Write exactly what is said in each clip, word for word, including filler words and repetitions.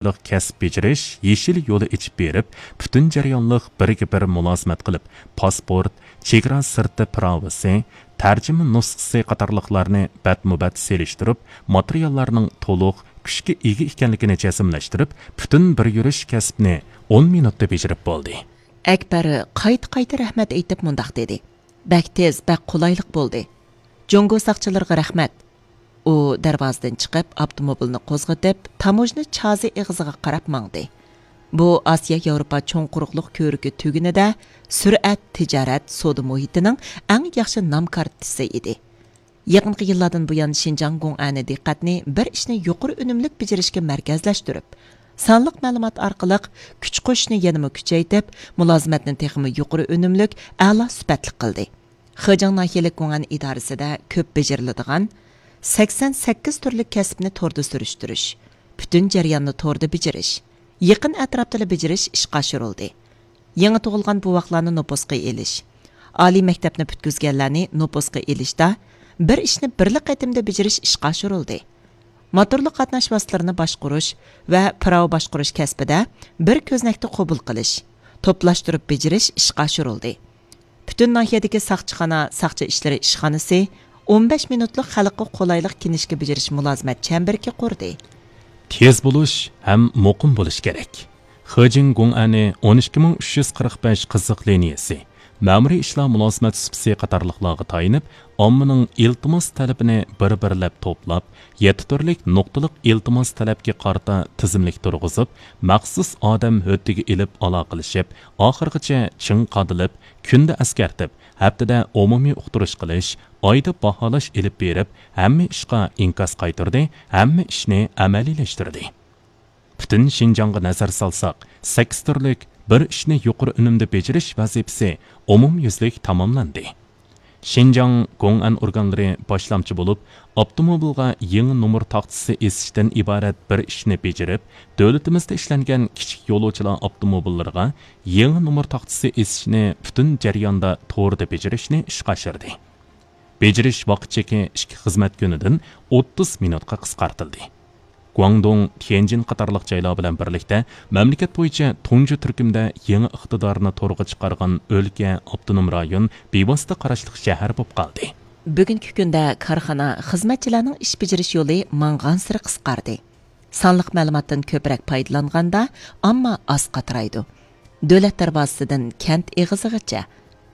كەسىپ بېجىرىش يېشىل يولى ئېچىپ بېرىپ، پۈتۈن جەريانلىق بىرگە بىر مۇلازىمەت قىلىپ، پاسپورت، چېگرا سىرتى پىراۋىسى، تەرجىمە نۇسخىسى قاتارلىقلارنى بەتمۇبەت سېلىشتۇرۇپ، ماتېرىياللارنىڭ تولۇق، كۈچكە ئىگە ئىكەنلىكىنى جەزملەشتۈرۈپ، پۈتۈن بىر يۈرۈش كەسىپنى ئون مىنۇتتا بېجىرىپ بولدى. ئەكبەر قايتا-قايتا رەھمەت ئېيتىپ مۇنداق دېدى: «بەك تېز، بەك قولايلىق بولدى. جۇڭگو ساقچىلىرىغا رەھمەت.» ئۇ دەرۋازىدىن چىقىپ، ئاپتوموبىلنى قوزغىتىپ، تاموژنا چازى ئېغىزىغا قاراپ ماڭدى. بۇ ئاسىيا ياۋروپا چوڭ قۇرۇقلۇق كۆۋرۈكى تۈگۈنىدە سۈرئەت، تىجارەت، سودا مۇھىتىنىڭ ئەڭ ياخشى نام كارتىسى ئىدى. يېقىنقى يىللاردىن بۇيان، شىنجاڭ گۇڭئەنى دىققەتنى بىر ئىشنى يۇقىرى ئۈنۈملۈك بېجىرىشكە مەركەزلەشتۈرۈپ، سانلىق مەلۇمات ئارقىلىق كۈچ قوشۇشنى يەنىمۇ كۈچەيتىپ، مۇلازىمەتنى تېخىمۇ يۇقىرى ئۈنۈملۈك، ئەلا سۈپەتلىك قىلدى. خېجىڭ ناھىيەلىك گۇڭئەن ئىدارىسىدە كۆپ بېجىرىلىدىغان سەكسەن سەككىز تۈرلۈك كەسىپنى توردا سۈرۈشتۈرۈش، پۈتۈن جەرياننى توردا بېجىرىش، يېقىن ئەتراپتىلا بېجىرىش ئىشقا ئاشۇرۇلدى. يېڭى تۇغۇلغان بوۋاقلارنى نوپۇسقا ئېلىش، ئالىي مەكتەپنى پۈتكۈزگەنلەرنى نوپۇسقا ئېلىشتا بىر ئىشنى بىرلا قېتىمدا بېجىرىش ئىشقا ئاشۇرۇلدى. موتورلۇق قاتناش ۋاسىتىلىرىنى باشقۇرۇش ۋە پىراۋا باشقۇرۇش كەسپىدە بىر كۆزنەكتە قوبۇل قىلىش، توپلاشتۇرۇپ بېجىرىش ئىشقا ئاشۇرۇلدى. پۈتۈن ناھىيەدىكى ساقچىخانا، ساقچى ئىشلىرى ئىشخانىسى ئون بەش مىنۇتلۇق خەلققە قولايلىق كىنىشكا بېجىرىش مۇلازىمەت چەمبىرىكى قۇردى. تېز بولۇش ھەم مۇقىم بولۇش كېرەك. خېجىڭ گۇڭئەنى ئون ئىككى مىڭ ئۈچ يۈز قىرىق بەش قىزىق لىنىيەسى، مەمۇرىي ئىشلار مۇلازىمەت سۇپىسى قاتارلىقلارغا تايىنىپ، ئاممىنىڭ ئىلتىماس تەلىپىنى بىر-بىرلەپ توپلاپ، يەتتە تۈرلۈك نۇقتىلىق ئىلتىماس تەلەپكە قارىتا تىزىملىك تۇرغۇزۇپ، مەخسۇس ئادەم ھۆددىگە ئېلىپ ئالاقىلىشىپ، ئاخىرغىچە چىڭ قادىلىپ، كۈندە ئەسكەرتىپ، ھەپتىدە ئومۇمىي ئۇقتۇرۇش قىلىش، ئايدا باھالاش ئېلىپ بېرىپ، ھەممە ئىشقا ئىنكاس قايتۇردى، ھەممە ئىشنى ئەمەلىيلەشتۈردى. پۈتۈن شىنجاڭغا نەزەر سالساق، سەككىز تۈرلۈك بىر ئىشنى يۇقىرى ئۈنۈمدە بېجىرىش ۋەزىپىسى ئومۇميۈزلۈك تاماملاندى. شىنجاڭ گوڭئەن ئورگانلىرى باشلامچى بولۇپ، ئاپتوموبىلغا يېڭى نومۇر تاختىسى ئېسىشتىن ئىبارەت بىر ئىشنى بېجىرىپ، دۆلىتىمىزدە ئىشلەنگەن كىچىك يولۇچىلار ئاپتوموبىللىرىغا يېڭى نومۇر تاختىسى ئېسىشنى پۈتۈن جەرياندا توردا بېجىرىشنى ئىشقا ئاشۇردى. بېجىرىش ۋاقىت چېكى ئىككى خىزمەت كۈنىدىن ئوتتۇز مىنۇتقا قىسقارتىلدى. گۇاڭدۇڭ، تيەنجىن قاتارلىق جايلار بىلەن بىرلىكتە مەملىكەت بويىچە تۇنجى تۈركۈمدە يېڭى ئىقتىدارنى تورغا چىقارغان ئۆلكە، ئاپتونوم رايون بىۋاسىتە قاراشلىق شەھەر بولۇپ قالدى. بۈگۈنكى كۈندە كارخانا، خىزمەتچىلەرنىڭ ئىش بېجىرىش يولى ماڭغانسېرى قىسقاردى. سانلىق مەلۇماتتىن كۆپرەك پايدىلانغاندا، ئامما ئاز قاترايدۇ. دۆلەت دەرۋازىسىدىن كەنت ئېغىزىغىچە،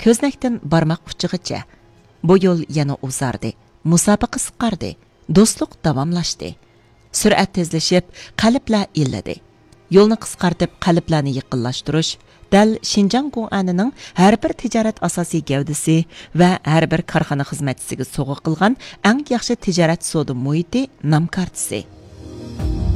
كۆزنەكتىن بارماق ئۇچىغىچە. بۇ يول يەنە ئۇزاردى، مۇساپە قىسقاردى، دوستلۇق داۋاملاشتى. سۈرئەت تېزلىشىپ، قەلبلەر ئىللىدى. يولنى قىسقارتىپ، قەلبلەرنى يېقىنلاشتۇرۇش دەل شىنجاڭ گوڭئەنىنىڭ ھەر بىر تىجارەت ئاساسىي گەۋدىسى ۋە ھەر بىر كارخانا خىزمەتچىسىگە سوۋغا قىلغان ئەڭ ياخشى تىجارەت سودا مۇھىتى نام كارتىسى.